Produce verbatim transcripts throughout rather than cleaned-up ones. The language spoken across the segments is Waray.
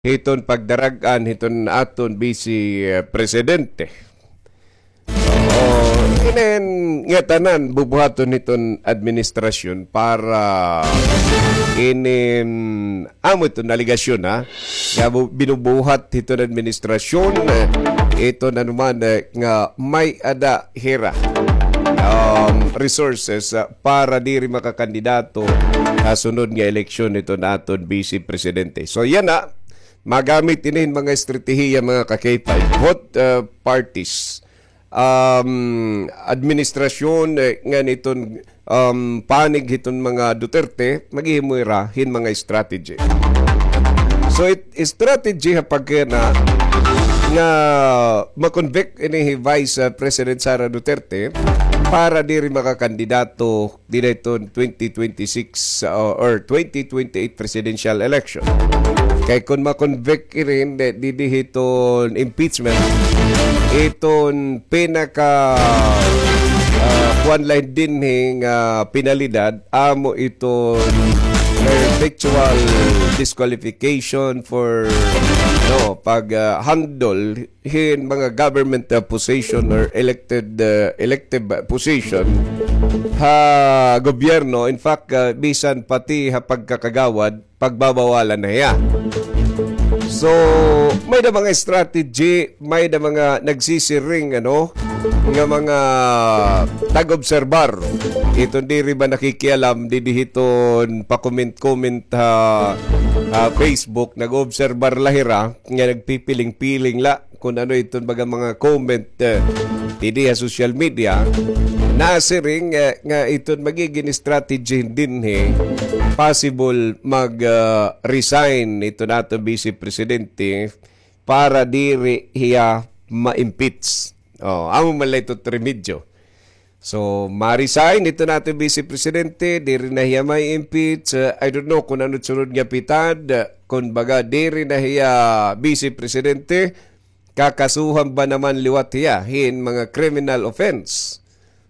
hiton pagdarag-an hiton aton Vice, eh, Presidente. Oo, inin ngatanan bubuhaton hiton administrasyon para inin amo iton aligasyon, ha, nga bu-, binubuhat hiton administrasyon, eh, iton anuman, eh, nga may-ada hira, um, resources, ah, para diri makakandidato ha sunod nga eleksyon hiton aton Vice Presidente. So, yana, magamit ini hin mga estratehiya, mga ka-K five, both, uh, parties, um, administrasyon, eh, ngan iton, um, panig hiton mga Duterte, maghihimo hira hin mga strategy. So, it, strategy ha pagkana nga ma-convict ini hi Vice, uh, President Sara Duterte para diri makakandidato dida hiton twenty twenty-six, uh, or twenty twenty-eight presidential election. Kay kon ma-convict irin, eh, didi hiton impeachment, iton pinaka, ah, kuan la dinhi nga penalidad, amo iton perpetual disqualification for, no, pag, ah, handle hin mga government, uh, position or elected, uh, elective, uh, position ha gobyerno. In fact, uh, bisan pati ha pagkakagawad, pagbabawalan na hiya. So, may-ada mga strategy, may-ada mga nagsisiring, ano, nga mga tag-obserbar. Iton diri ba nakikialam, didi hiton pa-comment-comment ha, ha Facebook, nag-obserbar la hira, nga nagpipiling-piling la kon ano iton baga mga comment, eh, didi ha social media, nasiring, eh, nga iton magigin strategy dinhi, possible mag, ah, resign iton aton Vice Presidente para diri hiya ma-impeach. Oh, amo man la iton remedyo. So, ma-resign iton aton Vice Presidente, diri na hiya ma-impeach. Uh, I don't know kon ano sunod nga pitad, uh, kon baga diri na hiya Vice Presidente, kakasuhan ba naman liwat hiya hin mga criminal offense?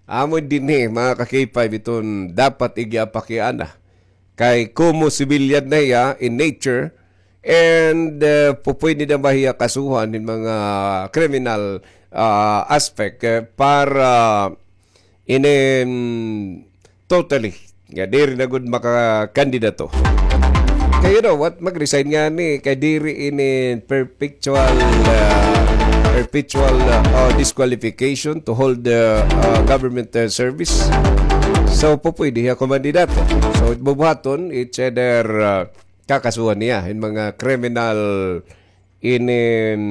Amo dinhi, mga ka-K five, iton dapat igiapakiana. Kay komo sibilyan na hiya in nature, and, uh, pupwede na ba hiya kasuhan hin mga criminal, uh, aspect, uh, para inin totally nga diri na gud makakandidato. Kay, you know what, mag-resign ngani kay diri inin perpetual, uh, perpetual, uh, uh, disqualification to hold the, uh, government, uh, service. So, pupwede hiya kumandidato. So, bubuhaton, it's either, uh, kakasuhan niya hin mga criminal inin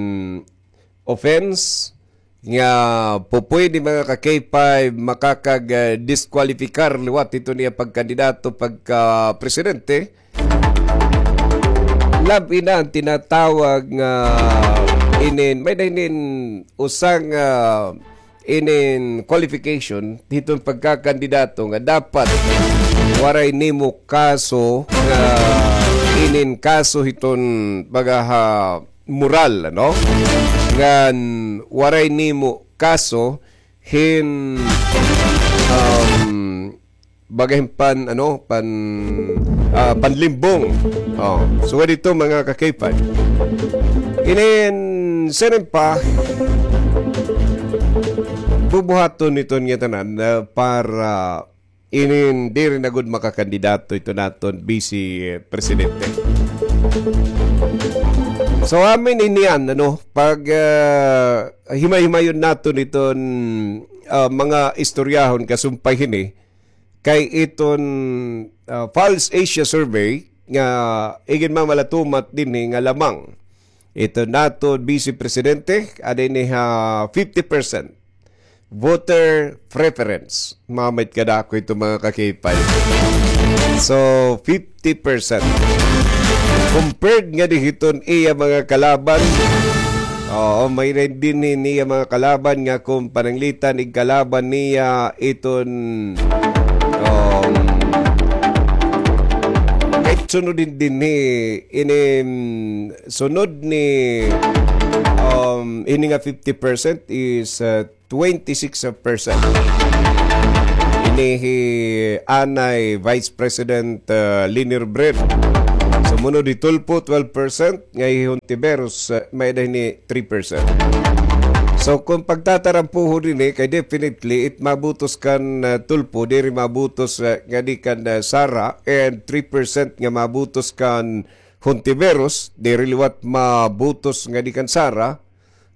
offense nga pupwede, mga ka-K five, makakag, ah, diskwalipikar liwat hiton iya pagkandidato pagka-presidente. Labi na an tinatawag nga inin, may-ada inin usa nga inin qualification hiton pagkakandidato nga dapat waray nimo kaso nga inin kaso hiton baga ha moral, ano? Ngan waray nimo kaso hin, um, baga hin pan, ano, pan, ah, panlimbong. Oh, so, dito, mga ka-K five. Inin, siring pa, bubuhaton iton ngatanan, ah, para inin diri na gud makakandidato iton aton Vice Presidente. So, amin ini an, ano, pag, ah, himay-himayon naton iton, ah, mga istoryahon kasumpay hini, kay iton, ah, Pulse Asia Survey nga iginmamalatumat dinhi nga lamang iton aton Vice Presidente, ada ini ha fifty percent voter preference. Mamit kadako ito, mga ka-K five. So, fifty percent. Compared ngadi hiton iya mga kalaban, oo, may-ada dinhi niya mga kalaban nga kon pananglitan igkalaban niya iton, um, kahit sunod din dinhi, inin sunod ni, um, ini nga fifty percent is, uh, twenty-six percent. Ini hi anay Vice President, uh, Leni Robredo. So, Munod hi Tulfo, twelve percent, nga hi Hontiveros, ah, may-ada hini three percent. So, kung pagtatarampuhon ini, kay definitely, it mabutos kan, ah, Tulfo, diri mabutos, ah, ngadi kan, ah, Sara, and three percent nga mabutos kan Hontiveros, diri liwat mabutos ngadi kan Sara,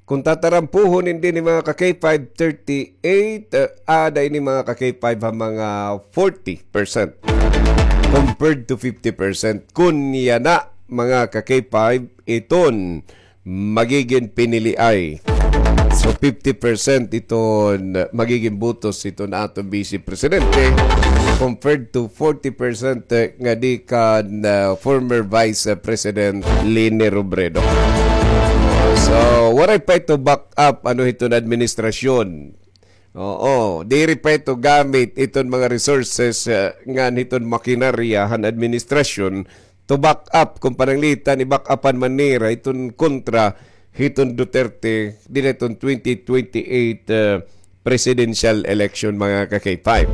Kung tatarampuhon ini mga ka-K five, thirty-eight, eh, aada ini mga ka-K five ha mga forty percent compared to fifty percent. Kun yana mga ka-K five, iton magigin piniliay. So, fifty percent iton magigin butos iton aton Vice Presidente compared to forty percent, eh, ngadi kan, ah, former Vice President Leni Robredo. So, waray pa ito back up, ano, hiton administrasyon. Oo, diri pa ito gamit iton mga resources, eh, ngan hiton makinarya han administrasyon to back up, kung pananglitan, i-back upan man nira iton kontra hiton Duterte dinhi hiton twenty twenty-eight, eh, presidential election, mga ka-K five.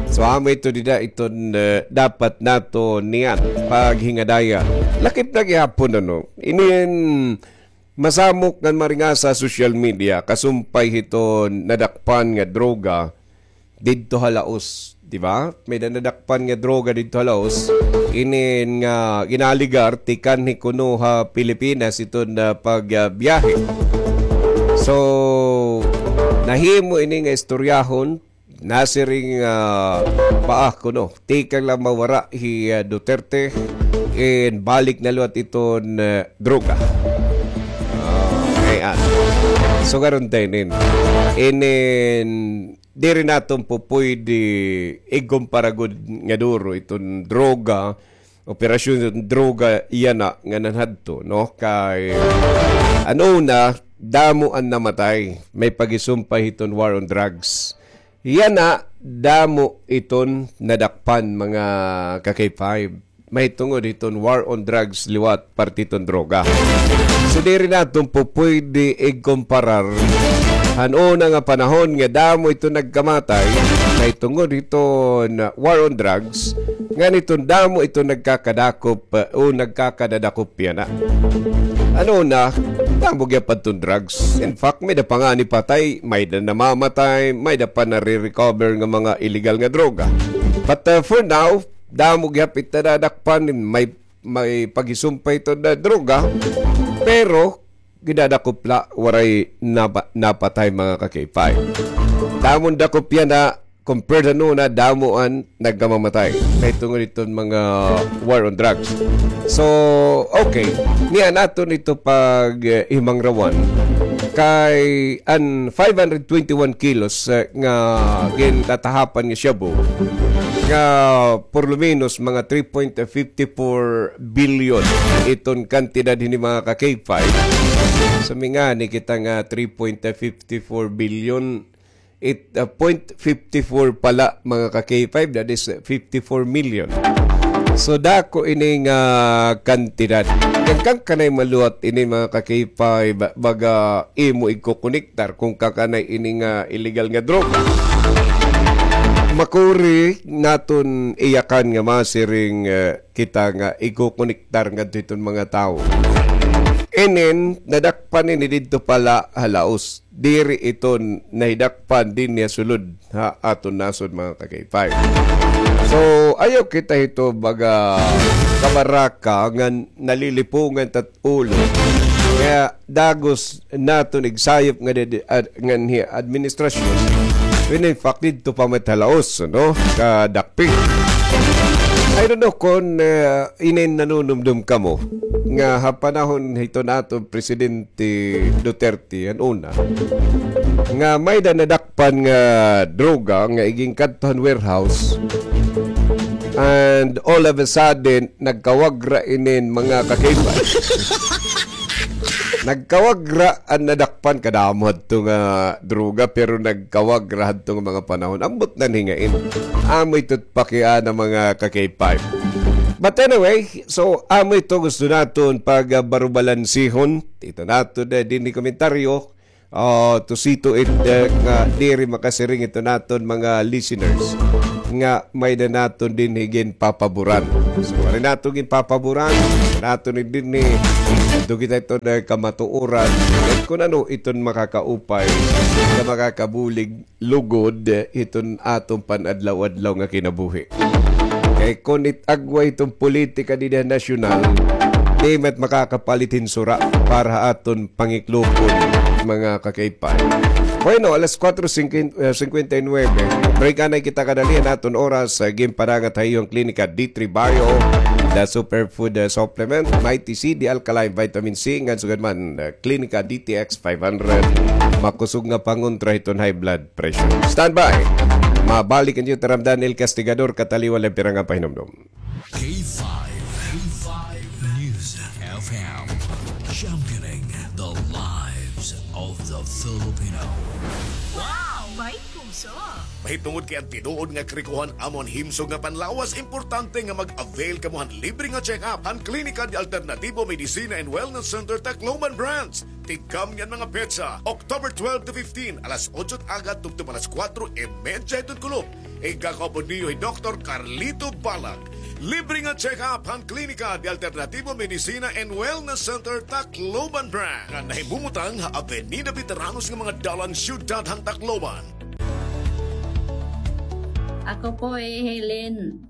So, amo ito dida iton, eh, dapat naton niyan paghingadaya. Lakip na gihapon, ano? Inin masamok ngan maringasa ha social media, kasumpay hiton nadakpan nga droga didto ha Laos, di ba? May-ada nadakpan nga droga didto ha Laos. Inin nga ginaligar, tikanhi kuno ha Pilipinas iton, ah, pag, ah, biyahe. So, nahimo ini nga istoryahon, nasiring, ah, paa kuno, tikang la mawara hi, ah, Duterte, in balik na liwat iton, ah, droga. Ah, ayan. So, karon ta inin. Inin, diri naton pupuydi ikumpara gud nga duro iton droga, operasyon droga yana nga nanhadto, no? Kay, ano na, damo an namatay. May pagisumpay hiton war on drugs. Yana, damo iton nadakpan, mga ka-K five. Mahitungod hiton war on drugs liwat parte hiton droga. So, diri naton pupuydi ikumparar han una nga panahon nga damo iton nagkamatay mahitungod hiton war on drugs, ngan hiton damo iton nagkakadakop, uh, o nagkakadadakop yana. Ano na, damo gihap adton drugs. In fact, may-ada pa ngani patay, may-ada namamatay, may-ada pa nare-recover nga mga illegal nga droga. But, uh, for now, damo gihap it nadadakpan, may, may pagisumpay iton droga, pero gidadakop la, waray napa-, napatay, mga ka-K five. Damo an dakop yana, compared han una, damo an nagkamamatay mahitungod hiton mga war on drugs. So, okay. Niyan aton ito pag, eh, himangrawan. Kay an five hundred twenty-one kilos, eh, nga gintatahapan nga shabu, nga por lo menos mga three point fifty-four billion iton kantidad hini mga ka-K five. So, mingani kita nga three point fifty-four billion, it, uh, point fifty-four pala, mga ka-K five, that is, uh, fifty-four million. So, dako ini nga kantidad. Kay kan kanay maluwat ini, mga ka-K five, ba-, baga imo igkukonektar kung kan kanay ini nga illegal nga droga. Makuri naton iyakan nga masiring, uh, kita nga igkukonektar ngadto hiton mga tawo. Inin, nadakpan ini didto pala ha Laos. Diri ito nahidakpan dinhi ha sulod ha aton nasod, mga ka-K five. So, ayaw kita hito baga kabaraka nga nalilipungan ta it ulo. Kaya dagos naton igsayop nga di-, di-, ad-, nganhi administrasyon. When in fact, didto pa man it ha Laos, no? Kadakpi. I don't know kon, eh, inin nanunumdom kamo nga ha panahon hiton aton Presidente Duterte, an una, nga may-ada nadakpan nga droga nga iginkadto han warehouse, and all of a sudden, nagkawagra inin mga ka-K five. Nagkawagra an nadakpan, kadamo hadto nga droga, pero nagkawagra hadto nga mga panahon. Ambot na hingain. Amo ito it pakiana, mga ka-K five. But anyway, so, amo ito gusto naton pagbarubalansihon. Ito naton, eh, dinhi komentaryo. Ah, to see to it, eh, nga diri makasiring ito naton mga listeners. nga may-ada naton dinhi ginpapaboran. So, waray naton ginpapaboran, naton ni dinhi, adto kita iton kamatuoran, kun ano iton makakaupay nga makakabulig lugod iton aton pan-adlaw-adlaw nga kinabuhi. Kay kun it-agway iton politika dida nasyonal, di man it makakapalit hin sura para ha aton pangiklopon, mga ka-K five. Bueno, alas kuwatro singkwenta, eh, singkwenta y nuwebe. Break anay kita kadali an aton oras, eh, ginpadangat ha iyo an Klinika D three Bio, the superfood, eh, supplement, Mighty C, the alkaline vitamin C, ngan sugad man, eh, Klinika D T X five hundred. Makusog nga pangontra hiton high blood pressure. Stand by. Mabalik an iyo tiyaram, Daniel Castigador, kataliwan la pira nga pahinumdom. K five, K five News F M, championing the lives of the Filipino. Wow! May puso! Mahitungod kay an tinuod nga krikohan amo an himsog nga panlawas, importante nga mag-avail kamo han libre nga check-up han Klinika de Alternativo Medicina and Wellness Center Tacloban Branch. Tigkam niyan mga petsa, October twelve to fifteen, alas otso it aga tubtob alas kuwatro y medya hiton kulop. Igakaupod niyo hi Doktor Carlito Balag. Libre nga check-up han Klinika de Alternativo Medicina and Wellness Center, Tacloban Branch, nga nahimumutang ha Avenida Veteranos nga mga dalan, siyudad han Tacloban. Ako po hi Helen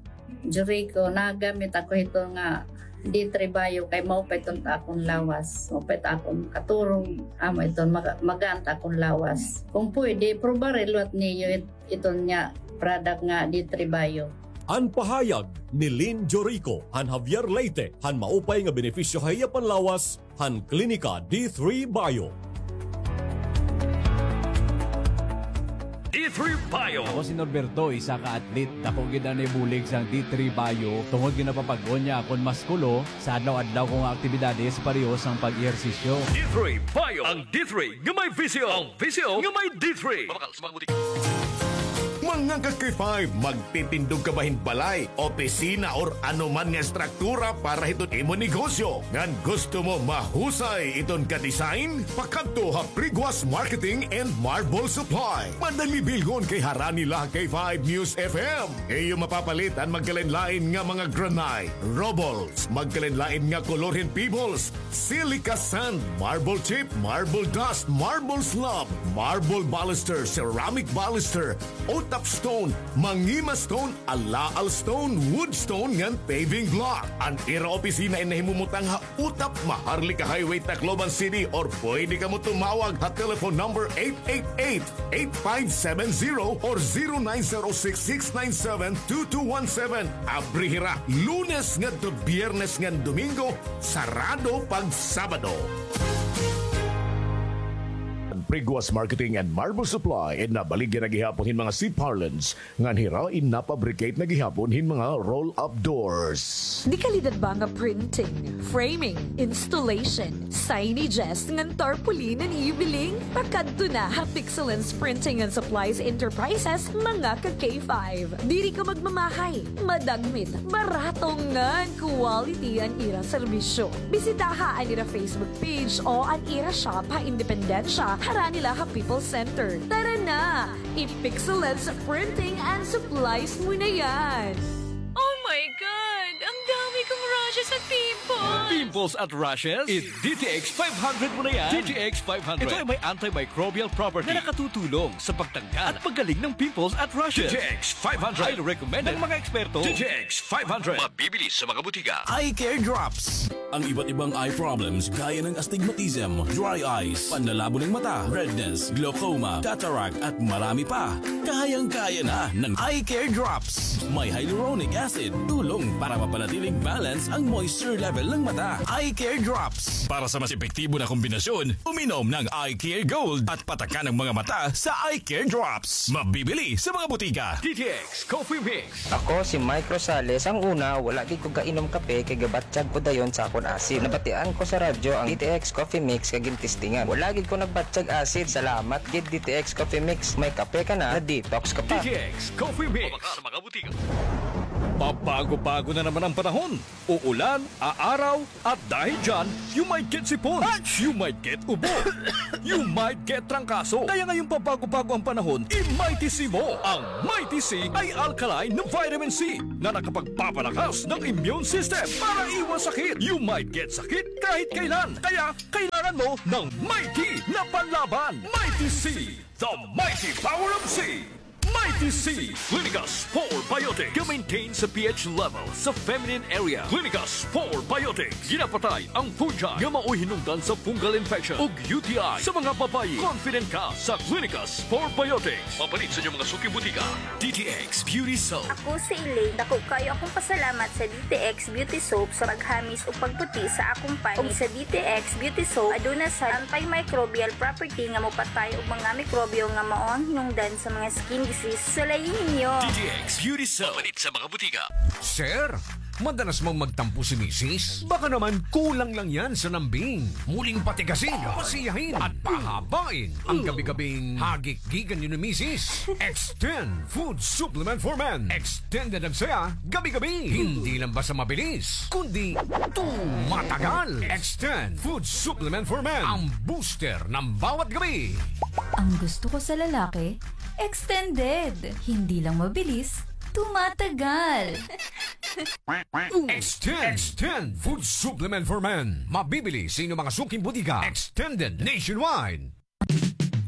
Jericho, nagamit ako hito nga D three Bio kay maupay iton ta akon lawas, maupay ta akon katurog, amo iton maga-, magaan ta akon lawas. Kung pwede, probari liwat niyo it-, iton nga product nga D three Bio. An pahayag ni Lynn Jorico han Javier Leyte han maupay nga benepisyo ha iya panlawas han Klinika D three Bio. D three Bio. Ako si Norberto, isa ka athlete. Dako gid an ibulig sang D three Bio tungod nga napapag-on niya akon muskulo sa adlaw-adlaw ko nga aktibidades, pareho sang pag-ehersisyo. D three Bio. Ang D three nga may visyo. Ang visyo nga may D three. Mabakal sa mga butika. Mga ka-K five, magtitindog ka ba hin balay, opisina, or ano man nga estruktura para hiton imo negosyo? Ngan gusto mo mahusay iton ka-design? Pakadto ha Priguas Marketing and Marble Supply. Madali bilngon kay harani la ha K five News F M. Iyo mapapalit an magkalain-lain nga mga granite, rubbles, magkalain-lain nga kolor hin pebbles, silica sand, marble chip, marble dust, marble slab, marble baluster, ceramic baluster, utap stone, mangima stone, alaal stone, wood stone, ngan paving block. An ira opisina in nahimumutang ha Utap, Maharlika Highway, Tacloban City, or pwede kamo tumawag ha telephone number eight eight eight, eight five seven zero or zero nine zero six, six nine seven, two two one seven. Abri hira Lunes ngadto Biyernes ngan Domingo, sarado pag Sabado. Priguas Marketing and Marble Supply in nabaligya na gihapon hin mga seat parlance ngan hira in napabricate na gihapon hin mga roll-up doors. Dekalidad ba nga printing, framing, installation, signages, ngan tarpaulin an ibiling? Pakadto na ha Pixelance Printing and Supplies Enterprises, mga ka-K five. Diri ka magmamahay, madagmit, barato ngan quality an ira serbisyo. Bisitaha an ira Facebook page o an ira shop ha Independencia, harani la ha People's Center. Tara na! I-Pixelance Printing and Supplies mo na yan! Oh my God! Ang dami kong rashes at pimples! Pimples at rashes? I-D T X five hundred mo na yan! D T X five hundred. Ito ay may antimicrobial property na nakatutulong sa pagtanggal at paggaling ng pimples at rashes. D T X five hundred. Highly recommended ng mga eksperto. D T X five hundred. Mabibili sa mga butika. Eye Care Drops. Ang iba't ibang eye problems gaya ng astigmatism, dry eyes, panlalabo ng mata, redness, glaucoma, cataract, at marami pa. Kayang-kaya na ng Eye Care Drops. May hyaluronic acid, tulong para mapanatiling balance ang moisture level ng mata. Eye Care Drops. Para sa mas epektibo na kombinasyon, uminom ng Eye Care Gold at patakan ang mga mata sa Eye Care Drops. Mabibili sa mga butika. D T X Coffee Mix. Ako si Mike Rosales. Ang una, wala gid ko gainom kape kay gabatyag ko dayon sa akon acid. Nabatian ko sa radyo ang D T X Coffee Mix kay gintestingan. Wala gid ko nagbatyag acid. Salamat gid D T X Coffee Mix. May kape ka na, na-detox ka pa. D T X Coffee Mix. Mabakal sa mga butika. Pabago-bago na naman ang panahon. Uulan, aaraw, at dahil dyan, you might get sipon, you might get ubo, you might get trangkaso. Kaya ngayong pabago-bago ang panahon, i-Mighty C mo. Ang Mighty C ay alkaline na vitamin C na nakapagpapalakas ng immune system para iwas sakit. You might get sakit kahit kailan. Kaya kailangan mo ng Mighty na panlaban. Mighty C, the mighty power of C. Mighty C, Clinicas Probiotics. Ga-maintain sa pH level sa feminine area. Clinicas Probiotics. Ginapatay ang fungi nga maoy hinungdan sa fungal infection ug U T I sa mga babayi. Confident ka sa Clinicas Probiotics. Mapalit sa inyong mga suking butika. D T X Beauty Soap. Ako si Elaine. Dako kaayo akong pasalamat sa D T X Beauty Soap sa paghamis ug pagputi sa akong panit. Ug sa D T X Beauty Soap, aduna sad antimicrobial property nga mopatay og mga mikrobyo nga mao ang hinungdan sa mga skin disease. Sulayi ninyo! D T X Beauty Soap. Mapalit sa mga butika. Sir, madalas mang magtampo si misis? Baka naman kulang lang yan sa lambing. Muling patigasin, pasiyahin, at pahabain ang gabi-gabing hagikgikan niyo ni misis. Extend Food Supplement for Men. Extended ang saya gabi-gabi. Hindi lang basta mabilis, kundi tumatagal. Extend Food Supplement for Men. Ang booster ng bawat gabi. Ang gusto ko sa lalaki, extended. Hindi lang mabilis, tumatagal. Extend. Extend Food Supplement for Men. Mabibili sa inyong mga suking butika. Extended nationwide.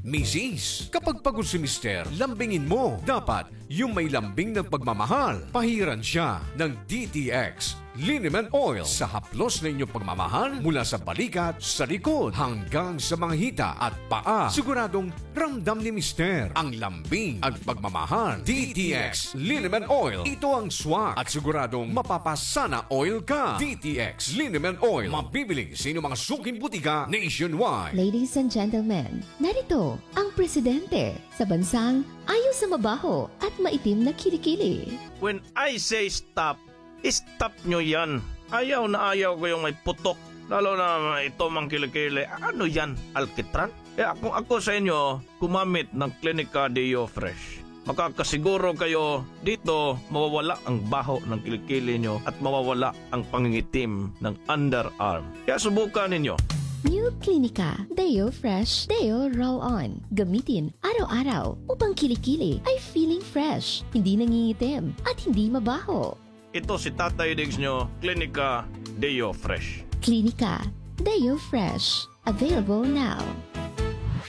Misis, kapag pagod si Mister, lambingin mo. Dapat, yung may lambing ng pagmamahal. Pahiran siya ng D T X Liniment Oil sa haplos na inyong pagmamahal, mula sa balikat, sa likod, hanggang sa mga hita at paa. Siguradong ramdam ni Mister ang lambing at pagmamahal. D T X Liniment Oil. Ito ang swak at siguradong mapapasana oil ka. D T X Liniment Oil. Mabibili sa inyong mga suking butika nationwide. Ladies and gentlemen, narito ang presidente sa bansang ayaw sa mabaho at maitim na kilikili. When I say stop, stop nyo yan. Ayaw na ayaw ko yung may putok. Lalo na ito mang kilikili. Ano yan? Alkitran? Kaya kung ako sa inyo, gumamit ng Clinica Deo Fresh. Makakasiguro kayo dito mawawala ang baho ng kilikili nyo at mawawala ang pangingitim ng underarm. Kaya subukan ninyo. New Clinica Deo Fresh Deo Roll On. Gamitin araw-araw upang kilikili ay feeling fresh, hindi nangingitim, at hindi mabaho. Ito si Tatay Diggs nyo, Clinica Deo Fresh. Clinica Deo Fresh. Available now.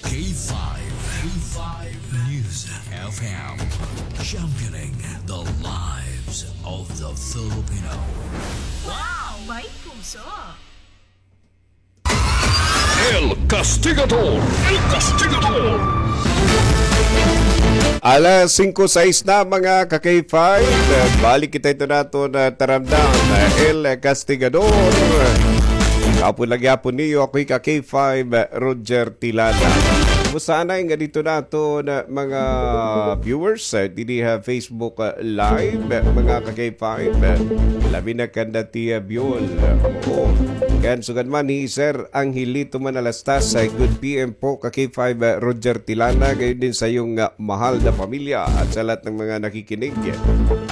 K five, K five News F M, championing the lives of the Filipino. Wow! May puso! El Castigador! El Castigador! Alas singko sais na, mga ka-K five. Balik kita ito naton, ah, taramdam, ah, El Castigador. Kapon lagi gihapon niyo, ako hi ka-K five, ah, Roger Tilana. Kumusta anay nga dito naton, ah, mga viewers, ah, didi ha Facebook, ah, Live, ah, mga ka-K five, ah, labi na kanda Tia Biol. Oo. Kan sugad man hi Sir Angelito Manalastas, ah, good P M po, ka-K five, ah, Roger Tilana, gayon din sa iyong, ah, mahal na pamilya at sa lahat ng mga nakikinig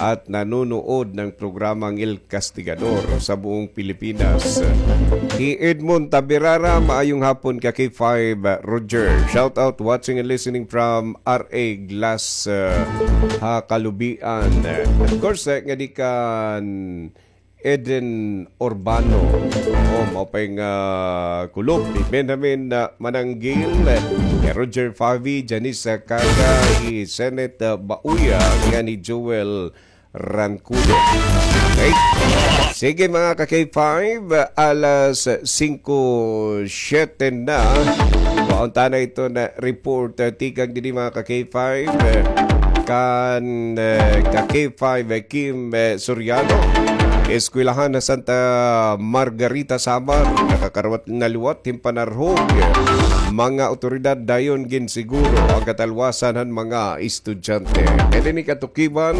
at nanonood ng programang El Castigador sa buong Pilipinas. Hi Edmond Tabirara, maayong hapon ka-K five, ah, Roger. Shout out, watching and listening from R A Glass, ah, ha Kalubian. Of course, ah, ngadi kan Eden Urbano. O, mao pa nga, ah, kulop ni Benjamin, ah, Mananggil, eh, Roger Favi, Janice, ah, Caga, hi Senate, ah, Bauya, ngan hi Joel Rancudo. Okay? Sige, mga ka-K five, ah, alas singko siyete na. Kuhaon ta na ito na report, ah, tikang didi, mga ka-K five, eh, kan, eh, ka-K five, eh, Kim, eh, Soriano. Eskwelahan ha Santa Margarita, Samar, nakakarawat na liwat hin panarhog. Mga awtoridad dayon ginsiguro an katalwasan han mga estudyante. Kay dinhi katukiban,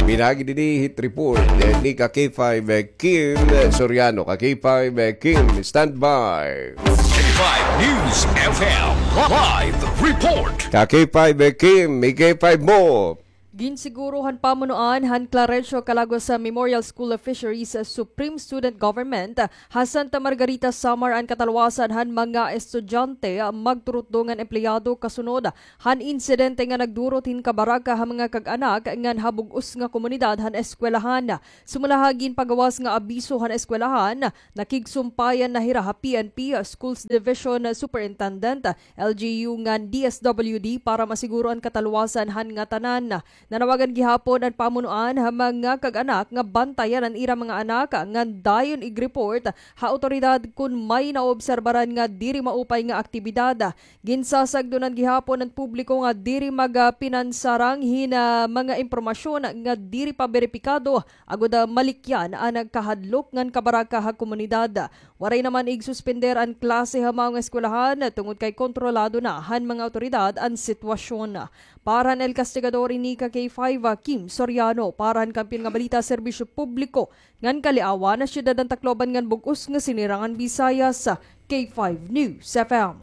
pinaagi dinhi hit report, eh, ni ka-K five, eh, Kim Soriano. Ka-K five, eh, Kim, standby. K five News F M live report. Ka-K five, eh, Kim, i-K five mo. Ginsiguro han pamunuan han Clarencio Calagos Memorial School of Fisheries Supreme Student Government ha Santa Margarita, Samar an katalwasan han mga estudyante, magturutdo ngan empleyado kasunod han insidente nga nagdurot hin kabaraka ha mga kag-anak ngan ha bug-os nga komunidad han eskwelahan. Sumala ha ginpagawas nga abiso han eskwelahan, nakigsumpayan na hira ha P N P Schools Division Superintendent, L G U ngan D S W D para masiguro an katalwasan han ngatanan. Nanawagan gihapon an pamunuan ha mga kag-anak nga bantayan an ira mga anak ngan dayon ig-report ha awtoridad kon may naobserbaran nga diri maupay nga aktibidad. Ginsasagdonan gihapon an publiko nga diri magpinansarang hin, ah, mga impormasyon nga diri pa beripikado agod, ah, malikyan an kahadlok ngan kabaraka ha komunidad. Waray naman igsuspender an klase ha maong eskwelahan tungod kay kontrolado na han mga awtoridad an sitwasyon. Para han El Castigador, ini ka K five, ah, Kim Soriano, para han Kampiyon nga Balita, Serbisyo Publiko ngan Kaliawan, ha Syudad han Tacloban ngan Bug-os nga Sinirangan Visayas, K five News F M.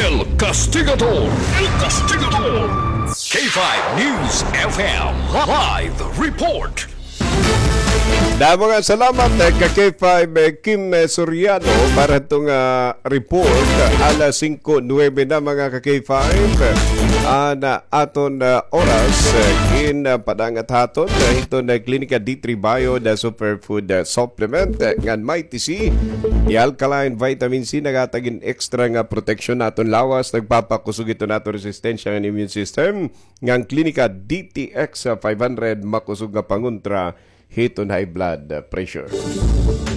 El Castigador, El Castigador, K five News F M live report. Damo nga salamat, eh, ka K five, eh, Kim, eh, Soriano, para itong, ah, report. Alas singko nuwebe na, mga ka K five. An, ah, aton, ah, oras, eh, in, ah, padangat haton, eh, hiton, eh, Klinika D three Bio, the superfood, eh, supplement, eh, ngan Mighty C, the alkaline vitamin C, naghatag hin extra nga proteksyon ha aton lawas, nagpapakusog hiton aton resistensya ngan immune system. Ngan Klinika D T X five hundred, makusog nga pangontra hiton high blood pressure.